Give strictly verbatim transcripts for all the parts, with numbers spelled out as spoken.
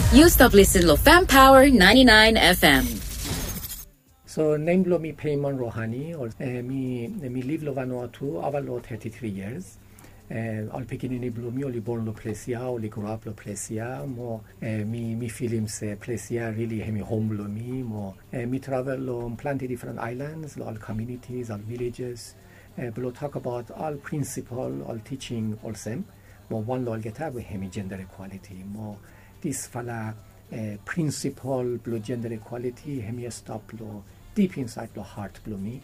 Yu stap lisen lo Fam Power ninety-nine F M. So nem blo mi Payman Rohani, ol, eh, mi, mi liv lo Vanuatu ava lo thirty-three years. Eh, ol pikinini blo mi oli born lo ples ya, oli grow up lo ples ya, mo, eh, mi, mi filim se ples ya really hemi hom blo mi, mo, eh, mi travel lo plante difren islands, lo ol communities, ol villages, eh, blo tokbaot ol prinsipol, ol teaching olsem, mo wan lo olgeta we hemi gender equality, mo disfala, eh, prinsipol blo gender equality, hemi stap lo dip insaed lo hat blo mi,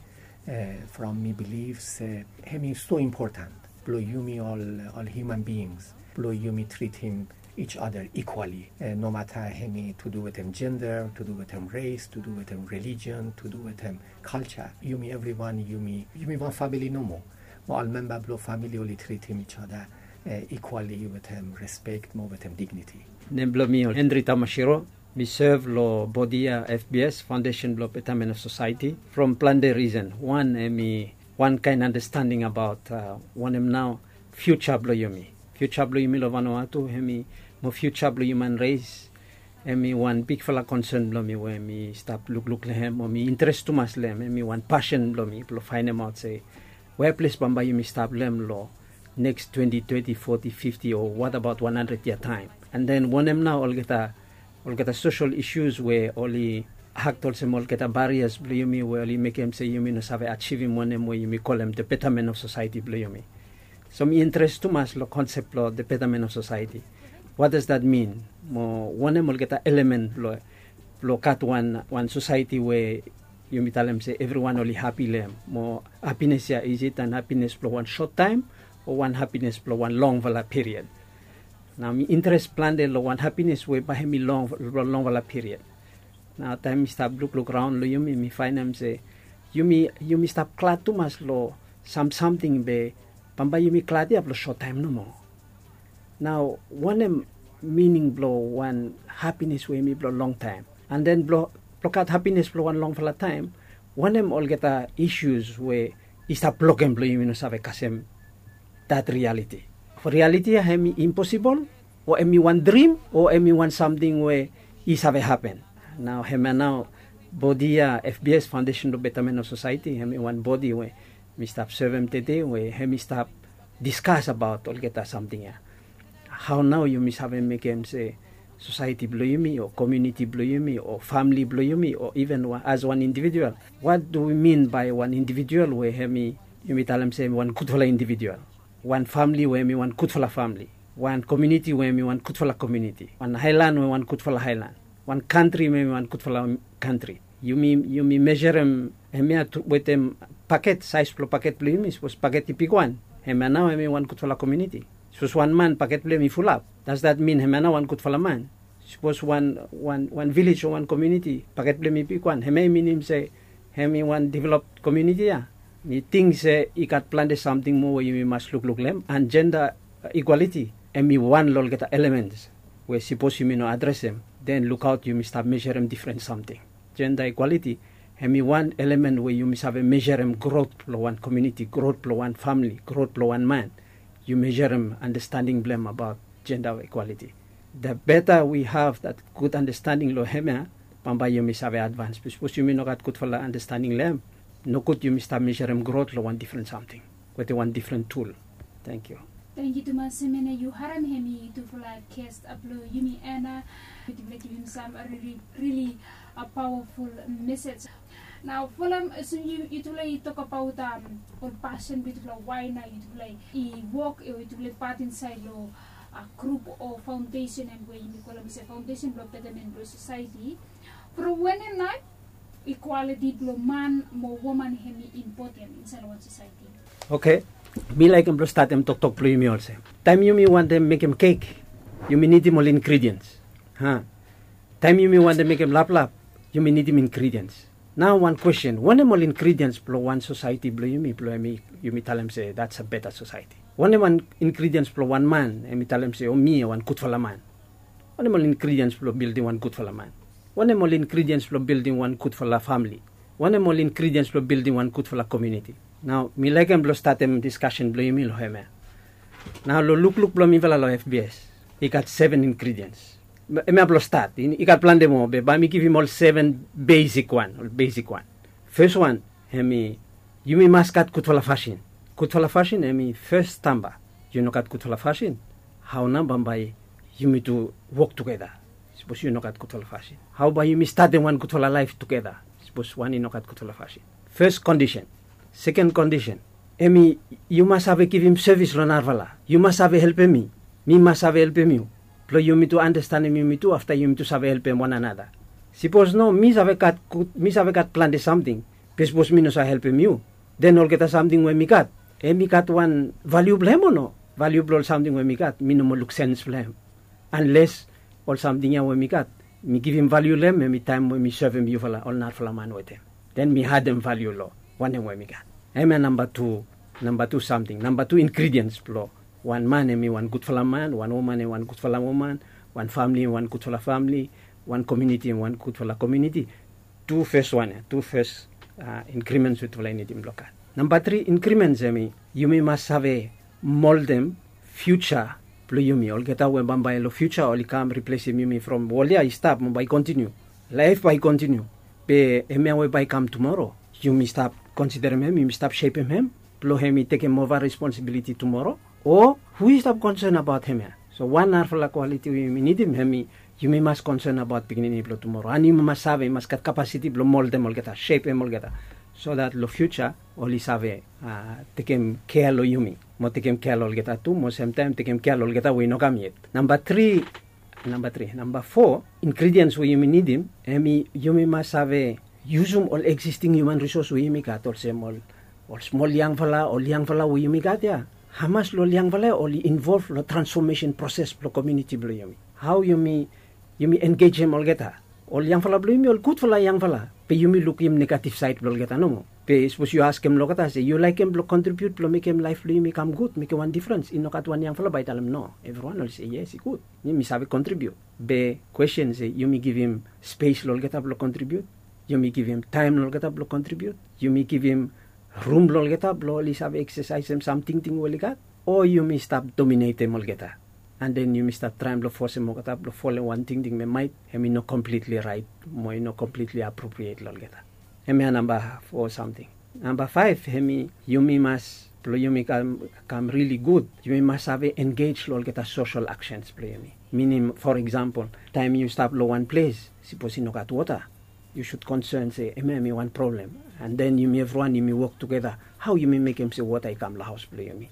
eh, from mi bilif se hemi so important blo yumi ol, ol human beings, blo yumi tritim each other equally. Eh, no mata hemi to do wetem gender, to do wetem race, to do wetem religion, to do wetem culture. Yumi evriwan, yumi, yumi wan famili nomo. Mo ol memba blo famili oli tritim each other, eh, equally wetem respect mo wetem dignity. Nem blo mi ol Henry Tamashiro, mi sev lo bodi ya F B S, Foundation blo Betterment of Society, from plante risen. Wan, hemi wan kaen andastanding abaot, uh, wanem nao fiuja blo yumi. Fiuja blo yumi lo Vanuatu, hemi mo fiuja blo human race, hemi wan bigfala konsen blo mi we mi stap lukluk lo hem, o mi interes tumas lo hem, hemi wan pasen blo mi blo faenemaot se wea ples bambae yumi stap lo hem lo neks twenti, teti, foti, fifti, o what about wan handred yia taem. And then wanem nao olgeta, olgeta social issues we oli akt olsem olgeta barriers blo yumi we oli mekem se yumi no save ajivim wanem we yumi kolem the betterment of society blo yumi. So mi interes tumas lo konsep blo the betterment of society. What does that mean? Mo wanem olgeta element blo, blo gat wan, wan society we yumi talem se evriwan oli hapi lo hem. Mo hapines ya, is it an hapines blo wan sot taem o wan hapines blo wan longfala period? Nao mi interes plante lo wan hapines we bae hemi long, lo longfala period. Nao taem mi stap lukluk raon lo yumi, mi faenem se yumi, yumi stap glad tumas lo sam, samting be bambae yumi glad ya blo sot taem nomo. Nao wanem mining blo wan hapines we hemi blo longtaem? And then blo, blo gat hapines blo wan longfala taem, wanem olgeta issues we i stap blokem blo yumi no save kasem that reality? Fo reality ya hemi imposibol, o hemi wan drim, o hemi wan samting we i save hapen? Nao hemia nao bodi ya, F B S, Foundation blo Betterment of Society, hemi wan bodi we mi stap sevem tede, we hemi stap diskas abaot olgeta samting ya. Hao nao yumi save mekem se society blo yumi, o community blo yumi, o famili blo yumi, o even wa-, as wan individual? What do we mean by wan individual we hemi, yumi talem se hemi wan gudfala individual? Wan famili we hemi wan gudfala famili? Wan community we hemi wan gudfala community? Wan aelan we wan gudfala aelan? Wan kantri we hemi wan gudfala kantri? Yumi, yumi mejerem hemia tu wetem paket, saes blo paket blo yumi. Sapos paket i bigwan, hemia nao hemi wan gudfala community. Sapos wan man paket blo hem i fulap, does that mean hemia nao wan gudfala man? Sapos wan, wan, wan vilej o wan community paket blo hem i bigwan, hemia i minim se hemi wan developed community ya? Mi ting se i gat plante samting moa we yumi mas lukluk lo hem, and gender equality hemi wan lo olgeta elements we sapos yumi no adresem, then lukaot, yumi stap mejerem difren samting. Gender equality hemi wan element we yumi save mejerem grot blo wan community, grot blo wan famili, grot blo wan man. Yu mejerem andastanding blo hem abaot gender equality. The better we have that good understanding lo hemia, bambae yumi save advance. Be sapos yumi no gat gudfala andastanding lo hem, nogud yumi stap mejerem grot lo wan difren samting wetem wan difren tul. Tangkiu. Tangkiu tumas. Hemia nao yu harem hemi tufala guest blo yumi, Ana. Yutufala i givim sam rili, rili a powerful message. Nao folem olsem yu, yutufala i tokbaot, um, ol pasen blo yutufala, wae nao yutufala i wok, o yutufala i pat insaed lo a grup o foundation, hemia we yumi kolem olsem Foundation blo Betterment blo Society. From wanem nao equality blo man mo woman hemi impoten insaed lo wan society? Oke. Mi laekem blo statem toktok blo yumi olsem, taem yumi wantem mekem kek, yumi nidim ol ingredients. Ha. Taem yumi wantem mekem laplap, yumi nidim ingredients. Nao wan kwestin, wanem ol ingredients blo wan society blo yumi, blo hemi yumi talem se that's a better society? Wanem wan ingredients blo wan man hemi talem se, o, mi wan gudfala man? Wanem ol ingredients blo bildim wan gudfala man? Wanem ol ingredients blo bildim wan gudfala famili? Wanem ol ingredients blo bildim wan gudfala community? Nao mi laekem blo statem diskasen blo yumi lo hemia. Nao lo lukluk blo mifala lo F B S, i gat seven ingredients. Em ya blong stat, i gat plante moa be bae mi givim ol seven besik wan, ol besik wan. Fes wan, hemi, yumi mas gat gudfala fasin. Gudfala fasin hemi fes stamba. Yu no gat gudfala fasin, hao nao bambae yumi tu wok tugeta? Sapos yu no gat gudfala fasin, hao bae yumi statem wan gudfala laef tugeta sapos wan i no gat gudfala fasin? Fes kondisen. Seken kondisen, hemi, yu mas save givim sevis long narafala. Yu mas save helpem mi, mi mas save helpem yu, blong yumi tu andastanem yumi tu, afta yumi tu save helpem wan anata. Sapos no, mi save gat gud, mi save gat plante samting, be sapos mi no save helpem yu, den olgeta samting we mi gat, hemi gat wan valiu blong hem o no? Valiu blong ol samting we mi gat, mi no moa luk sens blong hem. Anles ol samting ya we mi gat, mi givim valiu long hem, hemi taem we mi sevem yufala, ol narafala man wetem. Den mi adem valiu long wanem we mi gat. Hemia namba tu, namba tu samting, namba tu ingridiens blong wan man hemi wan gudfala man, wan woman hemi wan gudfala woman, wan famle hemi wan gudfala famle, wan komuniti hemi wan gudfala komuniti. Tu fes wan ya, tu fes, a, ingrimens we yutufala i nidim blong gat. Namba tri ingrimens hemi, yumi mas save moldem fiuja blong yumi. Olgeta we bambae long fiuja oli kam riplesim yumi from wol ya i stap mo bae i kontiniu. Laef bae i kontiniu. Be hemia we bae i kam tumoro, yumi stap konsiderem hem, yumi stap sepem hem blong hemi tekem ova responsibiliti tumoro? O hu i stap konsen abaot hemia? So wan narafala kwaliti we yumi nidim hemi, yumi mas konsen abaot pikinini blong tumoro. And yumi mas save, i mas gat kapasiti blong moldem olgeta, sepem olgeta, so dat long fiuja oli save, a, tekem kea long yumi, mo tekem kea long olgeta tu, mo semtaem tekem kea long olgeta we i no kam yet. Namba tri, namba tri, namba fo ingridiens we yumi nidim, hemi, yumi mas save yusum ol eksisting hiuman risos we yumi gat, olsem ol, ol smol yangfala, ol yangfala we yumi gat ya. Hamas long ol yangfala ya oli involv long transfomesen proses blong komuniti blong yumi? Hao yumi, yumi engejem olgeta? Ol yangfala blong yumi ol gudfala yangfala, be yumi lukim negativ saed blong olgeta nomo. Be sapos yu askem long olgeta se yu laekem blong kontribiut blong mekem laef blong yumi kam gud, mekem wan difrens, i no gat wan yangfala bae i talem no. Evriwan oli se yes, i gud, mi, mi save kontribiut. Be kwesten se yumi givim spes long olgeta blong kontribiut? Yumi givim taem long olgeta blong kontribiut? Yumi givim rum long olgeta blong oli save eksesaesem sam tingting we oli gat? O yumi stap dominetem olgeta, and then yumi stap traem blong fosem olgeta blong folem wan tingting we maet hemi no komplitli raet mo i no komplitli apropriet long olgeta? Hemia namba fo samting. Namba faef hemi, yumi mas, blong yumi kam, kam rili gud, yumi mas save engej long olgeta sosel aksens blong yumi. Minim, for eksampol, taem yu stap long wan ples, sapos i no gat wota, yu sud konsen se hemia hemi wan problem. And then yumi evriwan yumi wok tugeta, hao yumi mekem se wota i kam long haos blong yumi,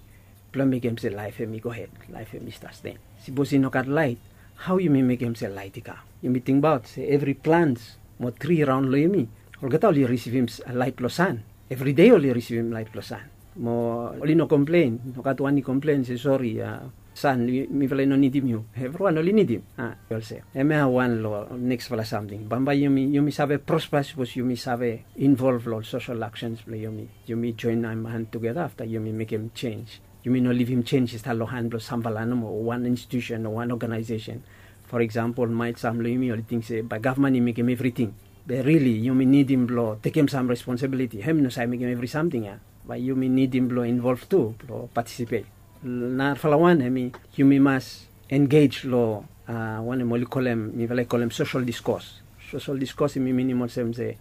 blong mekem se laef hemi gohed, laef hemi sasten. Sapos i no gat laet, hao yumi mekem se laet i kam? Yumi tingbaot se evri plants mo tri raon long yumi, olgeta oli risivim laet blong san. Evri dei oli risivim laet blong san. Mo oli no komplen, no gat wan i komplen se sori, a, san, mifala i no nidim yu. Evriwan oli nidim. A, i olsem. Hemia wan long neksfala samting. Bambae yumi, yumi save prospa sapos yumi save involv long ol sosel aksens blong yumi. Yumi joenem han tugeta afta yumi mekem jenj. Yumi no livim jenj i stap long han blong samfala nomo, o wan institusen o wan oganaesesen. For eksampol, maet sam long yumi oli ting se bae gavman i mekem evriting. Be rili yumi nidim blong tekem sam responsibiliti. Hem i no save mekem evri samting ya. Bae yumi nidim blong involv tu blong patisipet. Narafala wan hemi, yumi mas engej long, a, wanem oli kolem, mifala i kolem sosel diskos. Sosel diskos hemi minim olsem se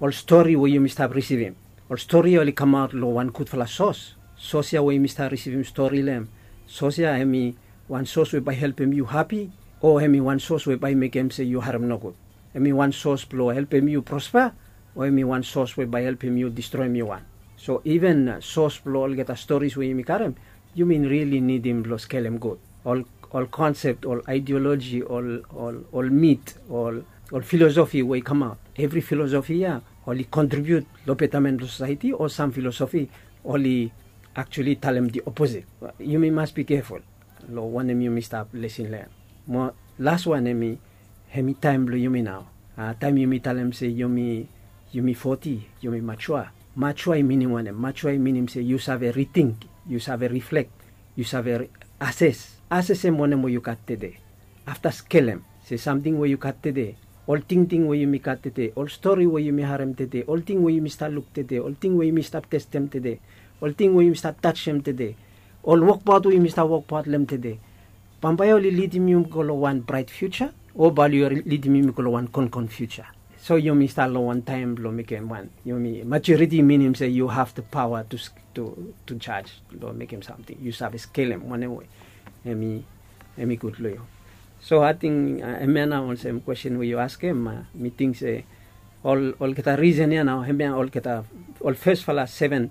ol stori we yumi stap risivim, ol stori ya oli kamaot long wan gudfala sos. Sos ya we yumi stap risivim stori long hem, sos ya hemi wan sos we bae helpem yu hapi, o hemi wan sos we bae mekem se yu harem nogud? Hemi wan sos blong helpem yu prospa, o hemi wan sos we bae helpem yu distroem yu wan? So iven, a, sos blong olgeta storis we yumi karem, yumi rili nidim blong skelem gud. Ol, ol konsep, ol aedeoloji, ol, ol, ol mit, ol, ol filosofi we i kamaot. Evri filosofi ya oli kontribiut long betamen blong sosaeti, o sam filosofi oli aktuali talem di oposit. Yumi mas bi keful long wanem yumi stap lesin long hem. Mo las wan hemi, hemi taem blong yumi nao. A, taem yumi talem se yumi, yumi foti, yumi majua. Majua i minim wanem? Majua i minim se yu save riting, yu save riflek, yu save ri-, ases. Asesem wanem we yu gat tede. Afta skelem se samting we yu gat tede, ol tingting we yumi gat tede, ol stori we yumi harem tede, ol ting we yumi stap luk tede, ol ting we yumi stap testem tede, ol ting we yumi stap tajem tede, ol wokbaot we yumi stap wokbaot long hem tede, bambae oli lidim yumi go long wan braet fiuja, O bae yu lidim yumi go long wan konkon fiuja. So yumi stap long wan taem blong mekem wan, yumi maturity minim se yu have the power to, to, to judge, long mekem samting. Yu save skelem wanem we hemi, hemi gud long yu. So ating, uh, hemia nao olsem kwestin we yu askem, uh, mi ting se ol, olgeta risen ya nao, hemia olgeta, ol fesfala seven,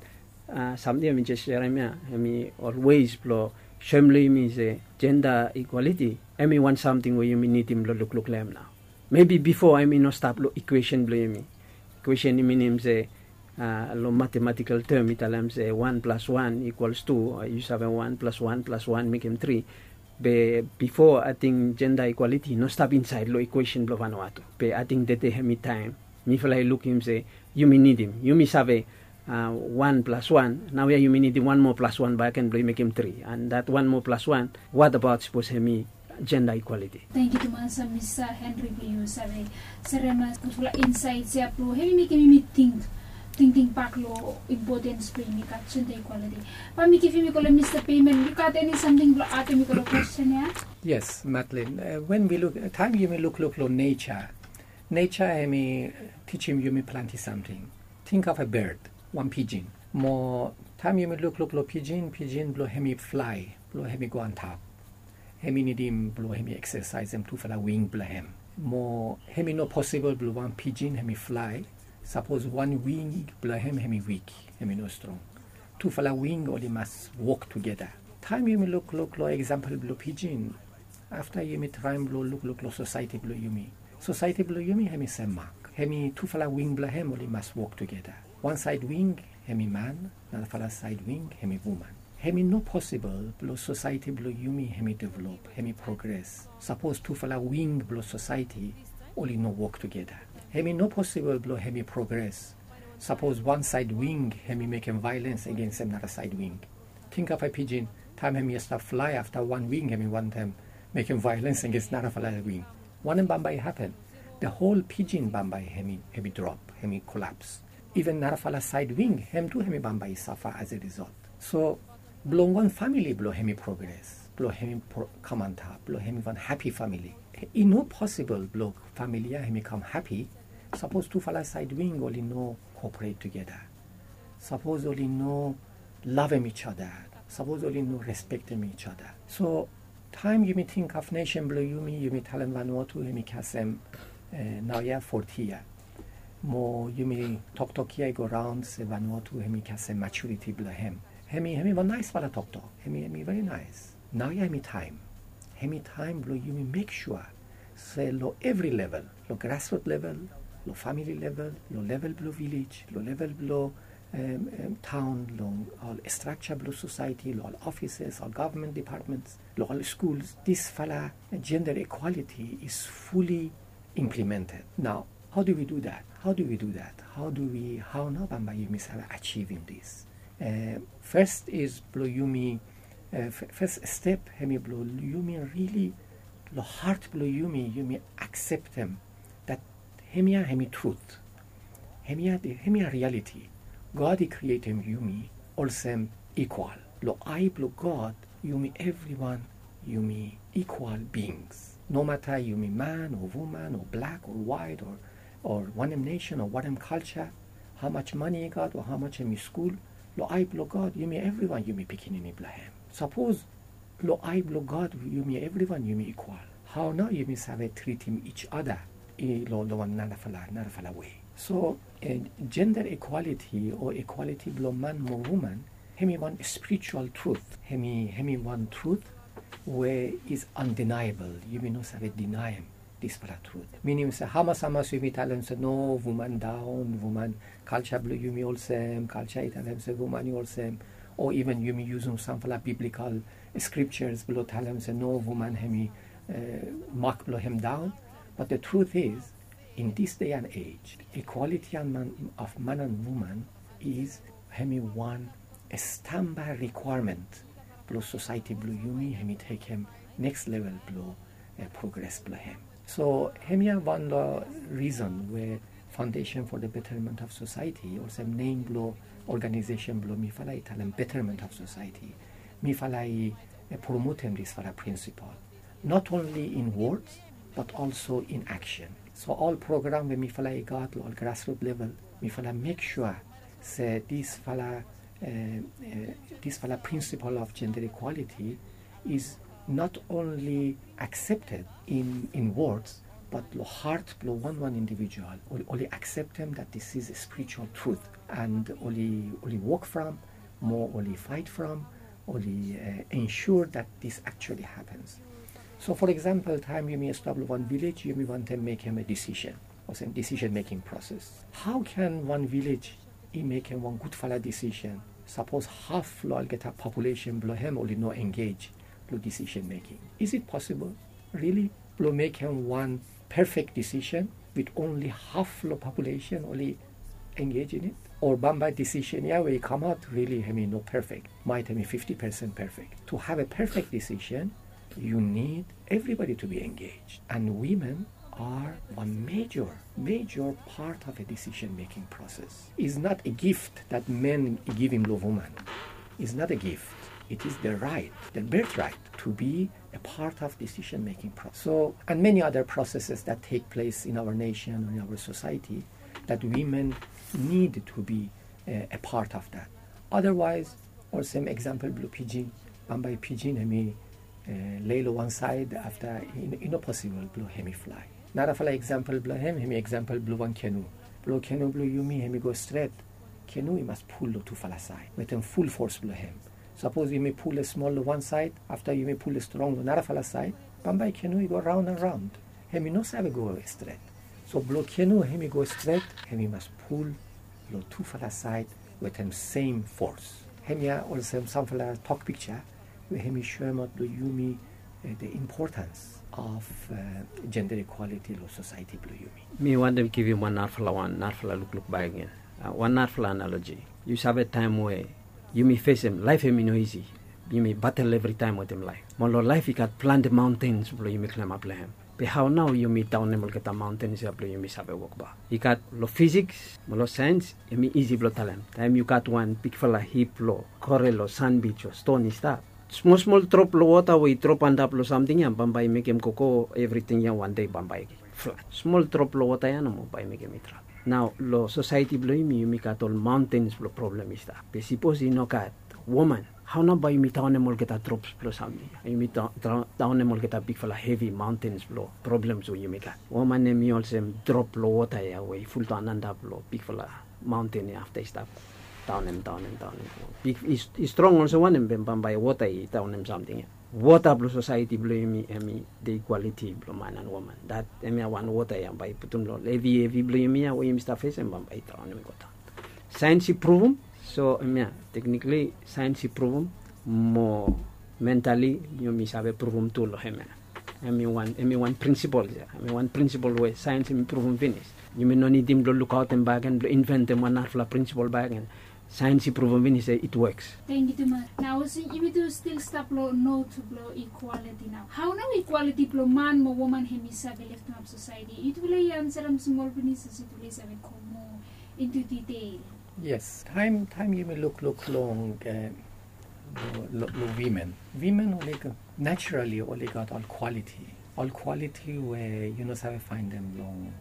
uh, samting ya mi jes serem ya, hemi ol ways blong soem long yumi se jenda ekwaliti hemi wan samting we yumi nidim blong lukluk long hem nao. Maybe bifo hemi no stap long equation blong yumi. Equation i minim se, uh, long mathematical term i talem se one plus one equals two, uh, yu save one plus one plus one mekem three. Be bifo ating jenda ekwaliti i no stap insaed long equation blong Vanuatu. Be ating tede hemi taem mifala i lukim se yumi nidim, yumi save, uh, one plus one, naoia yumi nidim wan moa plus one bakegen blong i mekem three. And that one moa plus one, what about sapos hemi jenda ekwaliti? Tangkiu tumas, uh, Mista Henry, blong yu save serem gudfala insaets ya blong hemi mekem yumi ting, tingting bak long impotens blong yumi gat jenda ekwaliti. Bae mi givim i go long Mista Payman. Yu gat eni samting blong adem i go long kwestin ya? Yes, Madeline. Uh, when we look, taem yumi lukluk long nature, nature hemi tijim yumi plante samting. Tingbaot bird, wan pijin. Mo taem yumi lukluk long pijin, pijin blong hemi flae, blong hemi go antap, hemi nidim blong hemi eksesaesem tufala wing blong hem. Mo hemi no posibol blong wan pijin hemi flae sapos wan wing blong hem hemi wik, hemi no strong. Tufala wing oli mas wok tugeta. Taem yumi lukluk long eksampol blong pijin, afta yumi traem blong lukluk long sosaeti blong yumi. Sosaeti blong yumi hemi sem mak. Hemi tufala wing blong hem oli mas wok tugeta. Wan saed wing hemi man, narafala saed wing hemi woman. Hemi no posibol blong sosaeti blong yumi hemi develop, hemi progres, sapos tufala wing blong sosaeti oli no wok tugeta. Hemi no posibol blong hemi progres sapos wan saed wing hemi mekem vaelens agensem nara saed wing. Tingbaot pijin, taem hemi stap flae, afta wan wing hemi wantem mekem vaelens agens narafala wing. Wanem bambae i hapen? The whole pijin bambae hemi, hemi drop, hemi kolaps. Iven narafala saed wing, hem tu hemi bambae i safa as a result. So blong wan famili blong hemi progres, blong hemi pro-, kam antap, blong hemi wan hapi famili, i no posibol blong famili ya hemi kam hapi sapos tufala saed wing oli no cooperate tugeta. Sapos oli no lavem each other, sapos oli no respektem each other. So taem yumi tingbaot nesen blong yumi, yumi talem Vanuatu hemi kasem, eh, naoia foti yia. Mo yumi toktok ya i go raon se Vanuatu hemi kasem maturiti blong hem. Hemi, hemi wan naesfala toktok. Hemi, hemi veri naes. Naoia hemi taem. Hemi taem blong yumi mek sua se long evri level, long grassroot level, long famili level, long level blong vilej, long level blong, em, em, taon, long ol strakja blong sosaeti, long ol offices, ol gavman depatments, long ol skuls, disfala gender equality is fully implemented. Nao, how do we do that? How do we do that? How do we, hao nao bambae yumi save ajivim dis? Eh, fes is blong yumi, eh, f-, fes step hemi blong yumi rili, long hat blong yumi, yumi akseptem that hemia hemi trut. Hemia, hemia rialiti. God i krietem yumi olsem ikwal. Long ae blong God, yumi evriwan, yumi ikwal bings. Nomata yumi man o woman o blak o waet o, o wanem nesen o wanem kalja, hamas mane i gat o hamas hemi skul, long ae blong God, yumi evriwan yumi pikinini blong hem. Sapos long ae blong God yumi evriwan yumi ikwal, hao nao yumi save tritim each other i long, long wan narafala, narafala wei? So, eh, jenda ekwaliti o ekwaliti blong man mo woman, hemi wan spiritual trut. Hemi, hemi wan trut we is undeniable. Yumi no save dinaem disfala trut. Minim se hamas hamas yumi talem se no, woman daon, woman, kalja blong yumi olsem, kalja i talem se woman i olsem, o iven yumi yusum samfala biblikal scriptures blong talem se no, woman hemi, eh, mak blong hem daon. But the truth is, in this day and age, equality of man and woman is, hemi wan stamba requirement blong sosaeti blong yumi hemi tekem next level blong, eh, progres blong hem. So hemia wan long risen we Foundation for the Betterment of Society, olsem nem blong organization blong mifala i talem Betterment of Society, mifala i, eh, promotem disfala principle. Not only in words, but also in action. So ol program we mifala i gat lo ol grassroot level, mifala mek sua se disfala, eh, eh, disfala principle of gender equality is not only accepted in, in words, but lo heart blo wan wan individual, oli, oli akseptem that this is a spiritual truth, and oli, oli wok from, mo oli fight from, oli, eh, ensure that this actually happens. So, for example, taem yumi stap lo wan village, yumi wantem mekem a decision, olsem decision making process. How can wan village i mekem wan gudfala decision sapos haf lo olgeta population blo hem oli no engage lo decision making? Is it possible, really, blo mekem wan perfect decision with only haf lo population oli engage in it? Or bambae decision ya we i kamaot really hemi no perfect, maet hemi fifty percent perfect. To have a perfect decision, you need everybody to be engaged. And women are a major, major part of a decision-making process. It's not a gift that men i givim lo woman. It's not a gift. It is their right, their birthright to be a part of decision-making process. So, and many other processes that take place in our nation or in our society that women need to be, uh, a part of that. Otherwise, olsem example blo pijin, bambae pijin hemi, eh, lei lo wan saed afta i, i no posibol blo hemi flae. Narafala example blo hem, hemi example blo wan kenu. Blo kenu blo yumi hemi go stret, kenu i mas pul lo tufala saed wetem ful fos blo hem. Sapos yumi pul smol lo wan saed, afta yumi pul strong lo narafala saed, bambae kenu i go raon and raon. Hemi no save go stret. So blo kenu hemi go stret, hemi mas pul lo tufala saed wetem sem fos. Hemia olsem samfala tok pikja we hemi soemaot lo yumi, eh, the importance of, eh, gender equality lo society blo yumi. Mi wantem givim wan narafala wan, narafala lukluk bakegen. Ah, wan narafala analogy. Yu save taem we yumi fesem, laef hemi no isi. Yumi batel evritaem wetem laef. Mo lo laef i gat plante maontens blo yumi klemap lo hem. Be hao nao yumi daonem olgeta maontens ya blo yumi save wokbaot? I gat lo physics mo lo saens, hemi isi blo talem. Taem yu gat wan bigfala hip lo korel o sanbij o ston i stap, smol smol drop lo wota we i drop antap lo samting ya bambae i mekem koko evriting ya wan dei bambae i flat. Smol drop lo wota ya nomo bae i mekem i drap. Nao lo society blo yumi, yumi gat ol maontens blo problem i stap. Be sipos i no gat woman, hao nao bae yumi daonem olgeta drops blo samting? Yumi da-, da-, daonem olgeta bigfala hevi maontens blo problems we yumi gat. Woman hemi olsem drop lo wota ya we i fuldaon antap lo bigfala maonten ya afta i stap daonem, daonem, daonem. Big, i, i strong olsem wanem be bambae wota i daonem samting ya? Wota blo society blo yumi hemi the equality blo man and woman. Dat hemia wan wota ya bae i putum lo hevi hevi blo yumi ya we yumi stap fesem bambae i daonem i go daon. Saens i pruvum, so hemia, technically saens i pruvum, mo mentally yumi save pruvum tu lo hemia. Hemi wan, hemi wan prinsipol ya, hemi wan prinsipol we saens hemi pruvum finis. Yumi no nidim blo lukaotem bakegen, blo inventem wan narafala prinsipol bakegen. Saens i pruvum finis se it works. Tangkiu tumas. Nao olsem yumi tu stil stap lo not blo equality nao. Hao nao equality blo man mo woman hemi save leftemap society? Yutufala i ansarem smol finis, se yutufala i save go moa into detail. Yes, taem, taem yumi lukluk long, eh, lo, lo, lo women. Women oli gat, naturally oli gat ol quality. Ol quality we yu no save faendem long,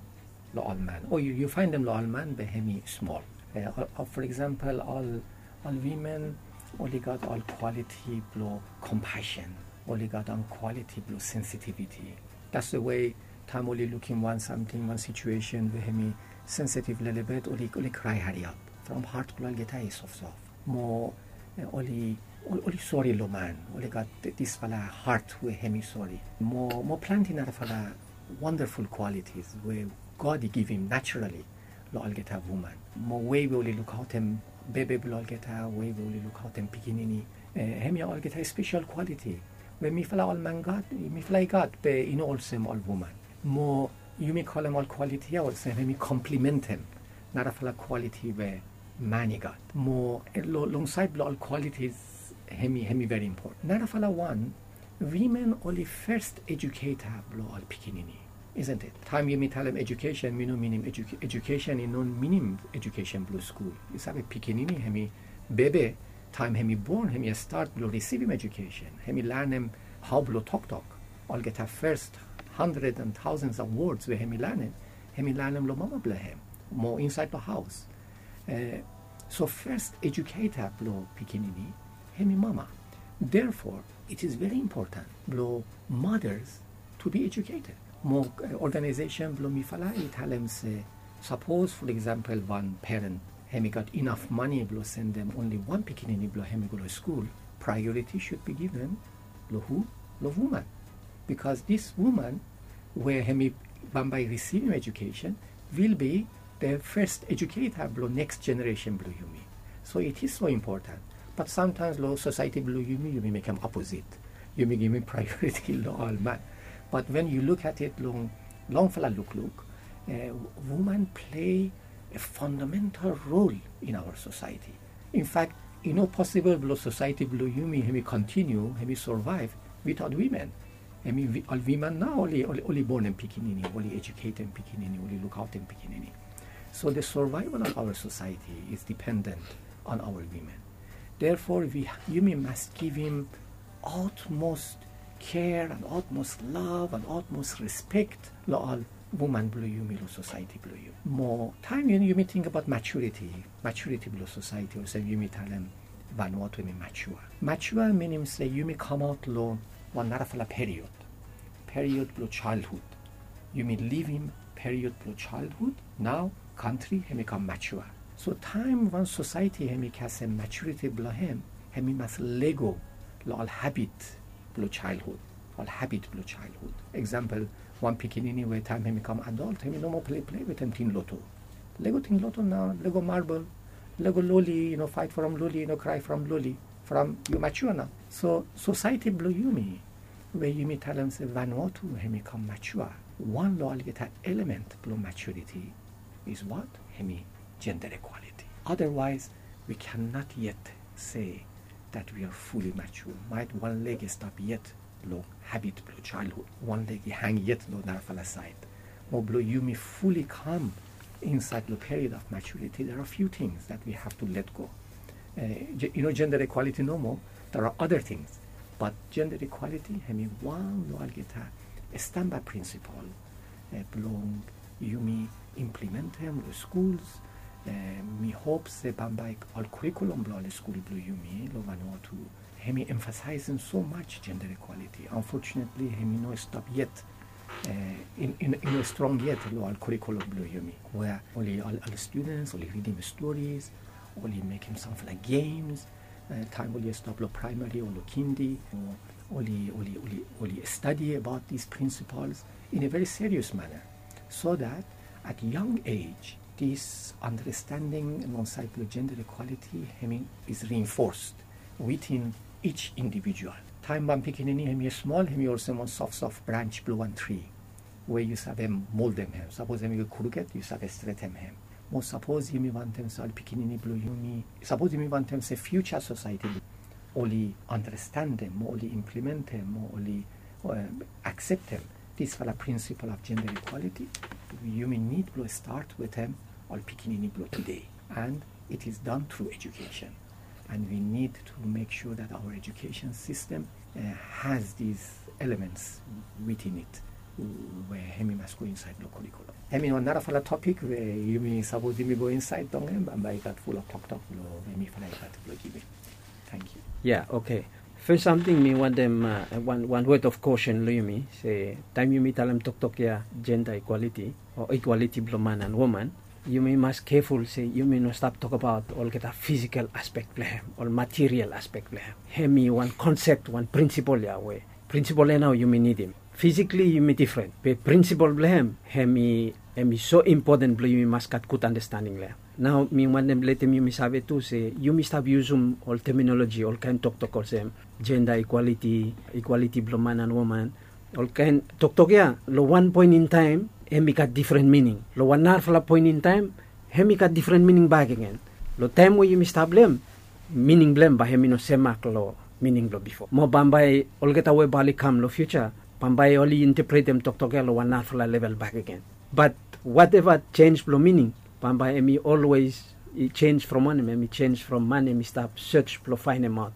lo ol man. O yu, yu faendem lo ol man be hemi smol. Eh, ol, ol, for example, ol, ol women oli gat ol quality blo compassion. Oli gat ol quality blo sensitivity. That's the way taem oli lukim wan samting, wan situation we hemi sensitive lelebet, oli, oli krae hariap. From heart blo olgeta i sofsof. Mo, eh, oli, oli, oli sori lo man. Oli gat disfala heart we hemi sori. Mo, mo plante narafala wonderful qualities we God i givim naturally lo olgeta woman. Mo wei we oli lukaotem bebe blo olgeta, wei we oli lukaotem pikinini. Eh, hemia olgeta special quality we mifala ol man gat, mifala i gat, be i no olsem ol woman. Mo yumi kolem ol quality ya olsem hemi komplimentem narafala quality we man i gat. Mo, eh, lo, long saed blo ol qualities hemi, hemi very important. Narafala wan, women oli first educator blo ol pikinini, isn't it? Taem yumi talem education, mi no minim edu-, education i no minim education blo skul. Yu save pikinini, hemi bebe, taem hemi bon, hemi stat blo risivim education. Hemi lanem hao blo toktok. Olgeta first hundred and thousands of words we hemi lanem, hemi lanem lo mama blo hem mo insaed lo haos. So first educator blo pikinini hemi mama. Therefore, it is very important blo mothers to be educated. Mo organization blo mifala i talem se, sapos, for example, wan parent hemi gat inaf mane blo sendem only wan pikinini blo hem i go lo skul, priority should be given lo hu? Lo woman. Because this woman we hemi bambae risivim education will be the first educator blo next generation blo yumi. So it is so important. But sometimes lo society blo yumi, yumi mekem opposite. Yumi givim priority lo ol man. But when you look at it long, longfala lukluk, woman play a fundamental role in our society. In fact, i no possible blo society blo yumi hemi continue, hemi survive without women. Hemi ol women nao oli, oli, oli bonem pikinini, oli educatem pikinini, oli lukaotem pikinini. So the survival of our society is dependent on our women. Therefore, we, yumi mas givim utmost care and utmost love and utmost respect lo ol woman blo yumi lo society blo yumi. Mo taem yumi tingbaot maturity, maturity blo society, olsem yumi talem Vanuatu hemi mature. Mature minim se yumi kamaot lo wan narafala period, period blo childhood. Yumi livim period blo childhood, nao kantri hemi kam mature. So taem wan society hemi kasem maturity blo hem, hemi mas lego lo ol habit blo childhood, ol habit blo childhood. Example, wan pikinini we taem hemi kam adult, hemi no moa pleplei wetem tin loto. Lego tin loto nao, lego marble, lego loli, i no faet from loli, i no krae from loli, from yu mature nao. So society blo yumi we yumi talem se Vanuatu hemi kam mature, wan lo olgeta element blo maturity is what? Hemi gender equality. Otherwise, we cannot yet say that we are fully mature. Maet wan leg i stap yet lo habit blo childhood, wan leg i hang yet lo narafala saed. Mo blo yumi fully kam insaed lo period of maturity, there are few things that we have to let go. I no gender equality nomo, there are other things. But gender equality hemi wan lo olgeta stamba principle blong yumi implementem lo schools. Mi hop se bambae ol curriculum blo ol skul blo yumi lo Vanuatu hemi emphasizem so much gender equality. Unfortunately, hemi no stap yet, i no strong yet lo ol curriculum blo yumi, where oli, ol students oli ridim stories, oli mekem samfala games taem oli stap lo primary o lo kindi, oli, oli, oli stadi abaot these principles in a very serious manner, so that at young age this understanding alongside lo gender equality hemi is reinforced within each individual. Taem wan pikinini hemi smol, hemi olsem wan sof sof branch blo wan tri we yu save moldem hem. Sapos hemi go crooked, yu save stretem hem. Mo sapos yumi wantem se ol pikinini blo yumi, sapos yumi wantem se future society oli understandem mo oli implementem mo oli akseptem disfala principle of gender equality, yumi nid blo start wetem ol pikinini blo today. And it is done through education. And we need to make sure that our education system has these elements within it we hemi mas go insaed lo curriculum. Hemi wan narafala topic we yumi sapos yumi go insaed long hem, bambae i gat fulap toktok lo hemi fala i gat blo givim. Tangkiu. Ya, okay. Fes samting mi wantem wan, wan word of caution lo yumi se taem yumi talem toktok ya gender equality o equality blo man and woman, yumi mas careful se yumi no stap tokbaot olgeta physical aspect blo hem, ol material aspect blo hem. Hemi wan concept, wan principle ya we principle ya nao yumi nidim. Physically yumi different, be principle blo hem hemi, hemi so important blo yumi mas gat gud understanding lo hem. Nao mi wantem letem yumi save tu se yumi stap yusum ol terminology, ol kaen toktok olsem gender equality, equality blo man and woman, ol kaen toktok ya lo wan poen in taem hemi gat different meaning, lo wan narafala poen in taem hemi gat different meaning bakegen. Lo taem we yumi stap lo hem, meaning blo hem bae hemi no semak lo meaning blo bifo. Mo bambae olgeta we bae oli kam lo future, bambae oli interpretem toktok ya lo wan narafala level bakegen. But whatever change blo meaning, bambae hemi always i change from wanem? Hemi change from man hemi stap search blo faenemaot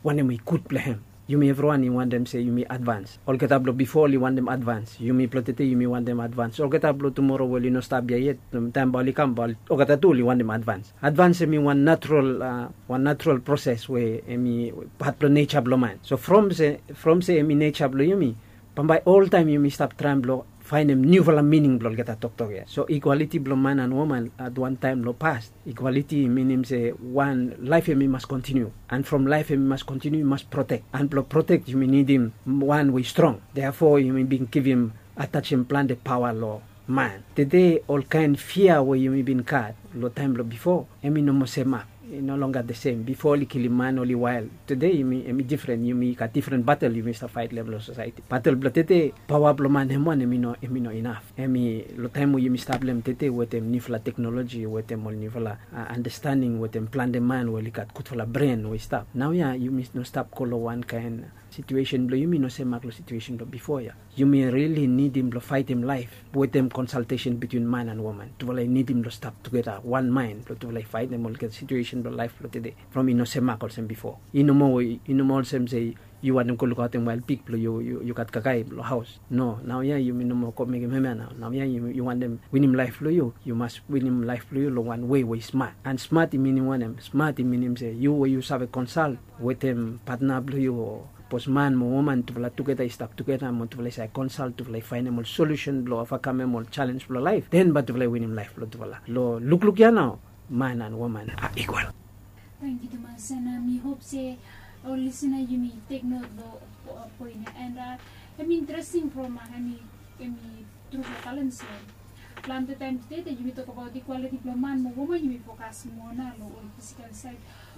wanem i gud blo hem. Yumi evriwan i wantem se yumi advans. Olgeta blo bifo oli wantem advans. Yumi blo tede yumi wantem advans. Olgeta blo tumoro we oli no stap ya yet, taem bae oli kam bae olgeta tu oli wantem advans. Advans hemi wan natural, a, wan natural proses we hemi pat blo neja blo man. So from se, from se hemi neja blo yumi, bambae oltaem yumi stap traem blo faenem niufala mining blo olgeta toktok ya. So ikwaliti blo man an woman at wan taem lo pas, ikwaliti i minim se wan laef hemi mas kontiniu. An from laef hemi mas kontiniu i mas protek. An blo protek yumi nidim wan we i strong. Therefore yumi bin givim, atajem plante paoa lo man. Tede olkaen fia we yumi bin gat lo taem blo bifo, hemi no moa semak. I no longer the same. Bifo oli kilim man oli wael. Tede yumi, hemi difren, yumi gat difren batel yumi stap faet lo hem lo sosaeti. Batel blo tede, paoa blo man hem wan hemi no, hemi no inaf. Hemi lo taem we yumi stap lo hem tede wetem niufala teknoloji, wetem ol niufala, a, andastanding, wetem plante man we oli gat gudfala bren we i stap. Naoia yumi no stap go lo wan kaen, a, situesen blo yumi no semak lo situesen blo bifo ya. Yumi rili nidim blo faetem laef wetem konsaltesen bitwin man an woman. Tufala i nidim blo stap tugeta wan maen blo tufala i faetem olgeta situesen blo laef blo tede. From i no semak olsem bifo. I no moa, i no moa olsem se yu wantem go lukaotem wael pig blo yu, yu, yu gat kakae blo haos. No, naoia yumi no moa go mekem hemia nao. Naoia yu, yu wantem winim laef blo yu, yu mas winim laef blo yu lo wan wei we i smat. An smat i minim wanem? Smat i minim se yu we yu save konsalt wetem patna blo yu o bosman mo woman, tufala tugeta i stap tugeta mo tufala i save konsalt, tufala i faenem ol solusen blo ovakamem ol jalens blo laef, den bae tufala i winim laef blo tufala. Lo lukluk ya nao, man an woman a ikwal. Tangkiu tumas, an, a, mi hop se ol lisina yumi tek not lo, a, poen ya. An, a, hemi interesting from, a, hemi, hemi trufala balans ya. Plante taem tede yumi tokbaot ikwaliti blo man mo woman, yumi fokas moa nao lo ol fisikal saed,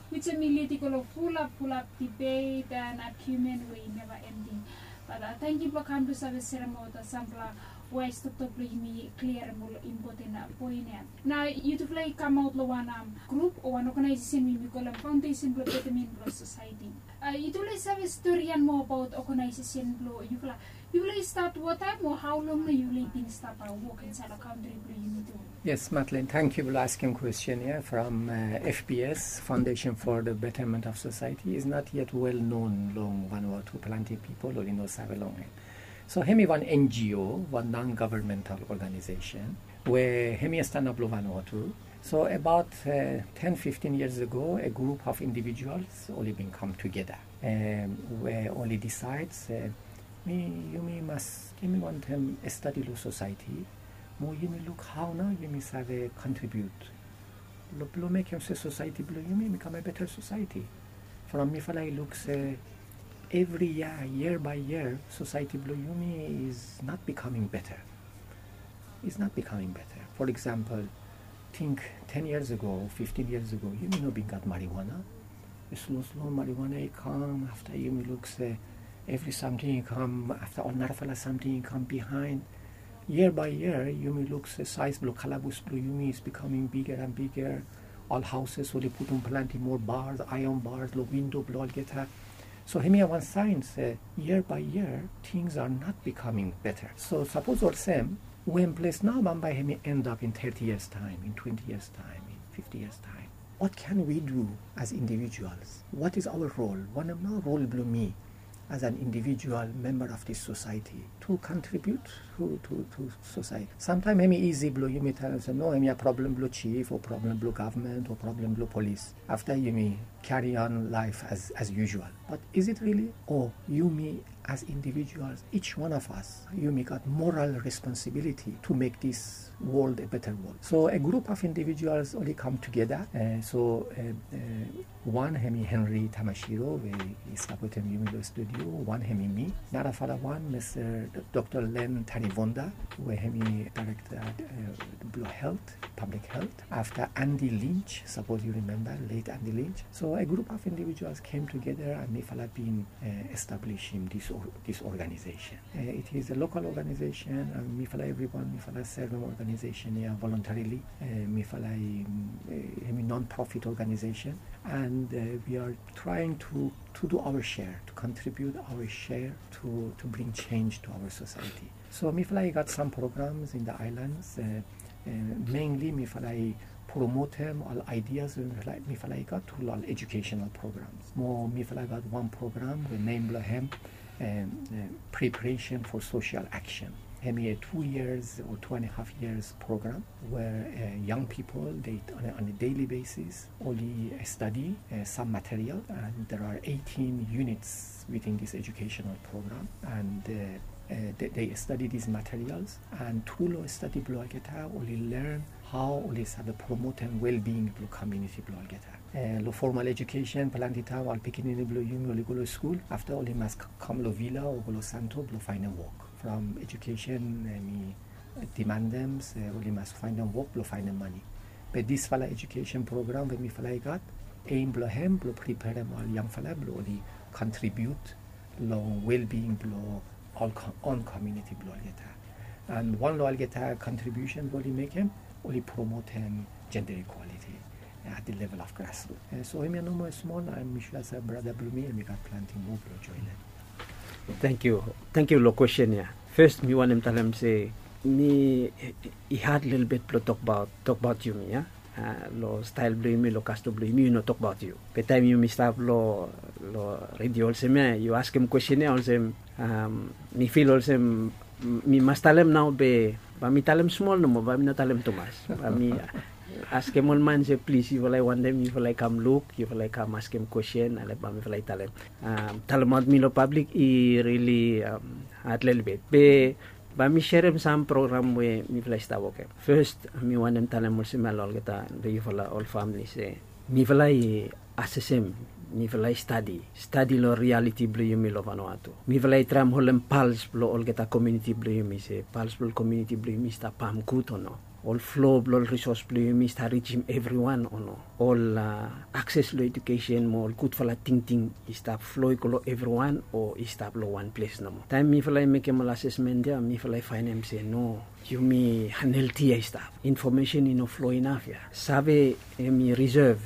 which hemi lid i go lo fulap, fulap dibet an agiumen we i neva ending. Bat, a, tangkiu blo kam blo save serem ol samfala waes toktok blo yumi kliarem ol impoten, a, poen ya. Nao yutufala i kamaot lo wan, am, grup o wan oganaesesen we yumi kolem Faondesen blo Betemen blo Sosaeti. A, yutufala i save stori ia moa abaot oganaesesen blo yufala? Yufala i stat wanem o hao long nao yufala i bin stap, a, wok insaed lo kantri blo yumi tu? Yes, Madeleine, tangkiu blo askem kwesten ia. From, a, F B S, Foundation for the Betterment of Society, is not yet well known long Vanuatu. Plante pipol oli no save long hem. So hemi wan N G O, wan non-governmental organization, we hemi stap lo Vanuatu. So abaot, a, ten, fifteen years ago, a group of individuals oli bin kam tugeta, a, we oli disaed se, mi, yumi mas, yumi wantem stadi lo sosaeti, mo yumi luk hao nao yumi save kontribiut lo, blo mekem se sosaeti blo yumi i kam a beta sosaeti. From mifala i luk se evri yia, year by year, sosaeti blo yumi is not becoming better. Is not becoming better. For example, think ten years ago, fifteen years ago, yumi no bin gat marijuana. Slo slo marijuana i kam, afta yumi luk se evri samting i kam, afta ol narafala samting i kam bihaen. Year by year, yumi luk se saes blo kalabus blo yumi is becoming bigger and bigger. Ol haoses oli putum plante moa bars, aeon bars lo windo blo olgeta. So hemia wan saen se year by year, things are not becoming better. So sapos olsem, wen ples nao bambae hemi end up in thirty years taem, in twenty years taem, in fifty years taem? What can we do as individuals? What is our role? Wanem nao rol blo mi as an individual member of this society to contribute to, to, to society? Samtaem hemi isi blo yumi talem se, no, hemia problem blo chief o problem blo gavman o problem blo polis. Afta yumi carry on life as, as usual. But is it really? O yumi as individuals, each one of us, yumi gat moral responsibility to make this world a better world. So a group of individuals oli kam tugeta. A, so, a, a, wan hemi Henry Tamashiro, we i stap wetem yumi lo studio. Wan hemi mi. Narafala wan, Mister Doktor Len Tanivonda, we hemi director, a, blo health, public health. Afta Andy Lynch, sapos yu rimemba, late Andy Lynch. So a group of individuals came together and mifala bin, a, establishim this or-, this organization. A, it is a local organization, and mifala evriwan, mifala serve organization ia voluntarily. A, mifala i, a, hemi non-profit organization, and, a, we are trying to, to do our share, to contribute our share to, to bring change to our society. So mifala i gat sam programs in the islands, a, a, mainly mifala i promotem ol ideas we mifala i gat tru long ol educational programs. Mo mifala i gat wan program we nem blong hem preparation for social action. Hem i a two years or two and a half years program where young people, they, on a daily basis, oli stadi some material, and there are eighteen units within this educational program, and they study these materials, and tru long stadi blong olgeta oli learn how oli save promotem well-being blong community blong olgeta. Long formal education, planti taem ol pikinini blong yumi oli go long skul, afta oli mas kam long villa o go long santo blong faenem wok. From education mi demandem se oli mas faenem wok blong faenem mane. Be disfala education program we mifala i gat, aim blong hem blong preparem ol yangfala blong oli contribute long well-being blong ol own community blong olgeta. And wan long olgeta contribution we oli mekem, oli promotem gender equality at the level of grassroots. So hemia nomo smol, and mi sua se brata blong mi hemi gat planti moa blong joinim. Thank you. Thank you long question ya. First mi wantem talem se mi i had lelebet blong tokbaot tokbaot yumi ya. Long stael blong yumi, long kastom blong yumi, yu no tokbaot yu. Be taem yumi stap long redio olsem ya, yu askem kwesten ya olsem, mi fil olsem mi mas talem nao, be bae mi talem smol nomo, bae mi no talem tumas. Bae mi askem ol man se plis, yufala i wantem, yufala i kam luk, yufala i kam askem kwesten, ale bae mifala i talem. Talemaot mi long pablik i rili had lelebet. Be bae mi serem sam program we mifala i stap wokem. Fes, mi wantem talem olsem ya long olgeta, long yufala ol famili se mifala i asesem, mifala i stadi, stadi long rialiti blong yumi long Vanuatu. Mifala i traem holem pals blong olgeta komuniti blong yumi, se pals blong komuniti blong yumi i stap pam gud o no. Ol flo blong ol risos blong yumi i stap rijim evriwan o no. Ol akses long edukesen mo ol gudfala tingting i stap flo i go long evriwan o i stap long wan ples nomo. Taem mifala i mekem ol asesmen ya, mifala i faenem se no, yumi anhelti ya i stap. Infomesen i no flo inaf ya. Save hemi risev,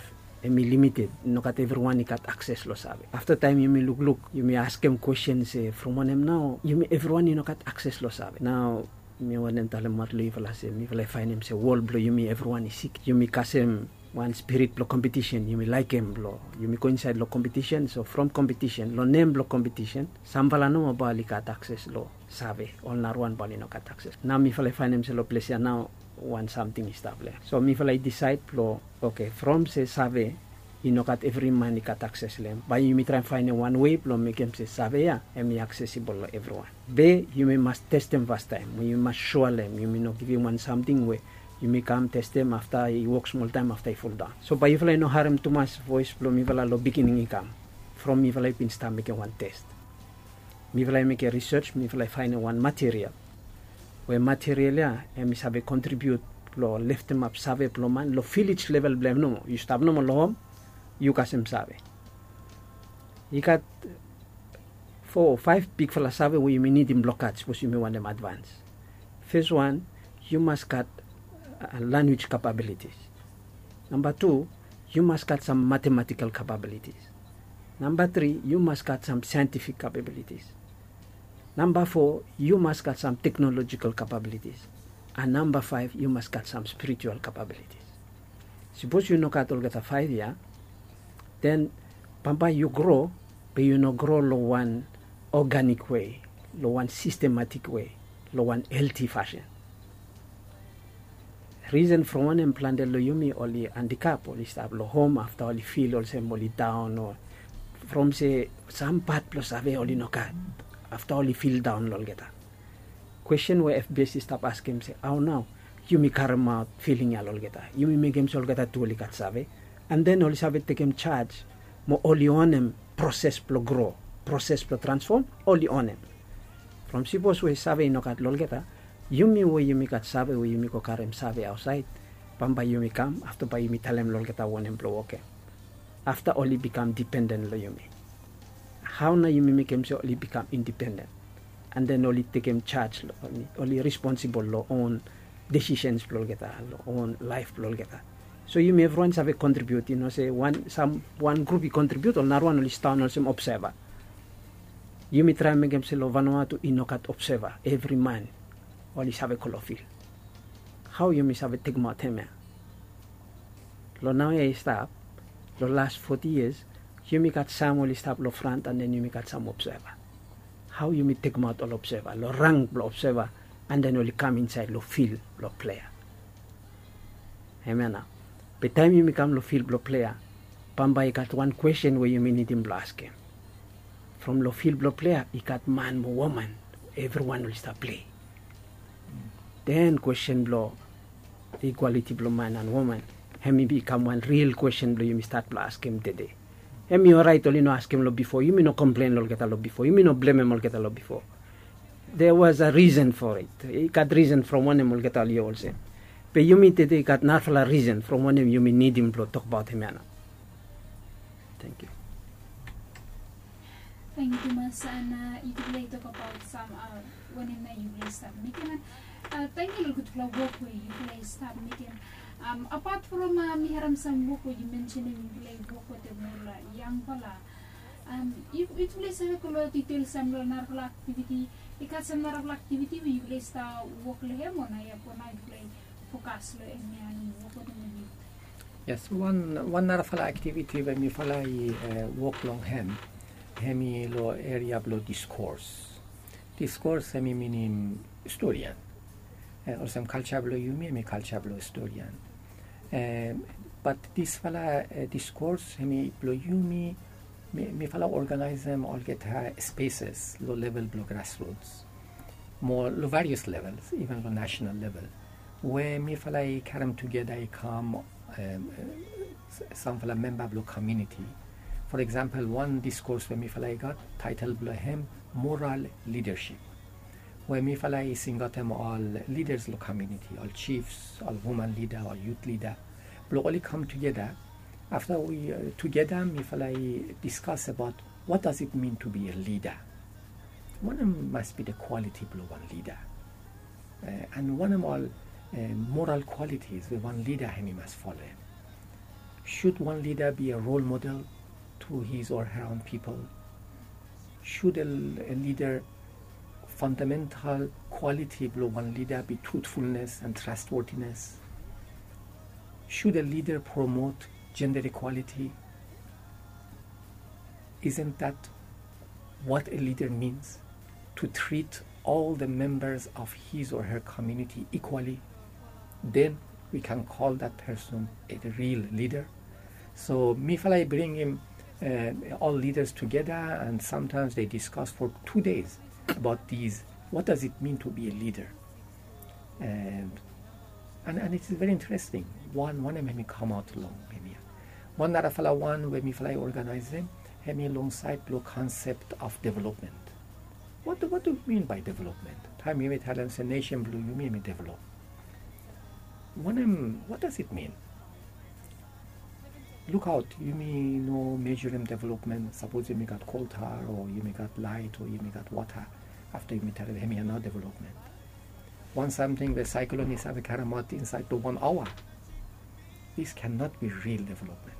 hemi limited. Nogat evriwan i gat akses long save. Afta taem yumi lukluk, yumi askem kwesten se from wanem nao yumi evriwan i no gat akses long save. Nao mi wantem talemaot long yufala se mifala i faenem se wol blong yumi evriwan i sik. Yumi kasem wan spirit blong kompetisen, yumi laekem blong yumi go insaed long kompetisen. So from kompetisen, long nem blong kompetisen, samfala nomo bae oli gat akses long save, ol narawan bae oli no gat akses. Nao mifala i faenem se long ples ya nao wan samting i stap long hem. So mifala i disaed blong, oke, from se save i no gat evri man i gat akses long hem, bae yumi traem faenem wan wei blong mekem se save ya hemi aksesibol long evriwan. Be yumi mas testem fastaem, yumi mas sua long hem, yumi no givim wan samting we yumi kam testem, afta i wok smoltaem, afta i foldaon. So bae yufala i no harem tumas voes blong mifala long beginning i kam. From mifala i bin stap mekem wan tes. Mifala i mekem risej, mifala i faenem wan material we material ya hemi save kontribiut long leftemap save blong man long vilej level blong hem nomo. Yu stap nomo long hom, yu kasem save. I gat fo o faef bigfala save we yumi nidim blong gat sapos yumi wantem advans. Fes wan, yu mas gat lanwis kapabilitis. Namba tu, yu mas gat sam matematikal kapabilitis. Namba tri, yu mas gat sam saentifik kapabilitis. Namba fo, yu mas gat sam teknolojikal kapabilitis. And namba faef, yu mas gat sam spiritual kapabilitis. Sapos yu no gat olgeta faef ya, den bambae yu gro, be yu no gro long wan oganik wei, long wan sistematik wei, long wan helti fasin. Risen from wanem plante long yumi oli andikap, oli stap long hom afta oli fil olsem oli daon, o from se sam pat blong save oli no gat, afta oli fil daon long olgeta. Kwesten we F B S i stap askem se, hao nao yumi karemaot filing ya long olgeta? Yumi mekem se olgeta tu oli gat save, and then oli save tekem jaj mo oli onem proses blong gro, proses blong transfom, oli onem. From sipos we save i no gat long olgeta, yumi we yumi gat save we yumi go karem save aotsaed, bambae yumi kam afta bae yumi talem long olgeta wanem blong wokem. Afta oli bikam dipenden long yumi. Hao nao yumi mekem se oli bikam indipenden, and then oli tekem jaj, oli responsibol long own desisens blong olgeta, long own laef blong olgeta. So yumi evriwan save kontribiut, i no se wan, sam wan grup i kontribiut ol narawan oli sidaon olsem obseva. Yumi traem mekem se long Vanuatu i no gat obseva, evri man oli save go long fil. Hao yumi save tekemaot hemia? Long naoia i stap, long las foti yias, yumi gat sam oli stap long fran, and then yumi gat sam obseva. Hao yumi tekemaot ol obseva long rang blong obseva, and then oli kam insaed long fil blong plea? Hemia nao. Be taem yumi kam long fil blong plea, bambae i gat wan kwestin we yumi nidim blong askem. From long fil blong plea i gat man mo woman, evriwan oli stap plei. Den kwestin blong ikwaliti blong man and woman, hem i bikam wan ril kwestin blong yumi stat blong askem tede. Hem i oraet oli no askem long bifo, yumi no komplen long olgeta long bifo, yumi no blemem olgeta long bifo. There was a reason for it. I gat risen from wanem olgeta oli olsem. Be yumi tede i gat narafala risen from wanem yumi nidim blong tokbaot hemia nao. Thank you. Tangkiu tumas. And yufala i tokbaot sam wanem nao yufala i stap mekem, and tangkiu long gudfala wok we yufala i stap mekem. Apat from mi harem sam wok we yu mensenem yufala i wok wetem ol yangfala, yufala i save go long ditel sam long narafala aktiviti, i gat sam narafala aktiviti we yufala i stap wok long hem, o naoia fo nao yufala i fokas long hemia long wok wetem ol yut? Yes, wan narafala aktiviti we mifala i wok long hem, hem i long eria blong diskos. Diskos hem i minim storian. Olsem kalja blong yumi hem i kalja blong storian. Bat disfala diskos hem i blong yumi, mifala oganaesem olgeta spesas long level blong grasruts, mo long varias levels, iven long nasonal level, we mifala i karem tugeta i kam samfala memba blong komuniti. For eksampol, wan diskos we mifala i gat, taetol blong hem moral lidasip, we mifala i singaotem ol lidas long komuniti, ol jifs, ol woman lida, ol yut lida, blong oli kam tugeta. Afta we tugeta mifala i diskas abaot what does it mean to be a leader? Wanem mas be the quality blong wan lida? And wanem ol moral qualities we wan lida hem i mas folem? Should one leader be a role model to his or her own people? Should a, a leader, fundamental quality blong wan lida be truthfulness and trustworthiness? Should a leader promote gender equality? Isn't that what a leader means? To treat all the members of his or her community equally, then we can call that person a real leader. So mifala i bringim ol lidas tugeta, and sometimes they discuss for two days about these, what does it mean to be a leader? And, and, and it is very interesting. Wan, wanem hem i kamaot long hemia. Wan narafala wan we mifala i oganaesem, hem i long saed blong konsep of development. What do, what do we mean by development? Taem yumi talem se nesen blong yumi hem i develop, wanem, what does it mean? Lukaot, yumi no mejurem development. Sapos yumi gat kol tar, o yumi gat laet, o yumi gat wota, afta yumi talem hemia nao development. Wan samting we saeklon i save karemaot insaed long wan aoa. This cannot be real development.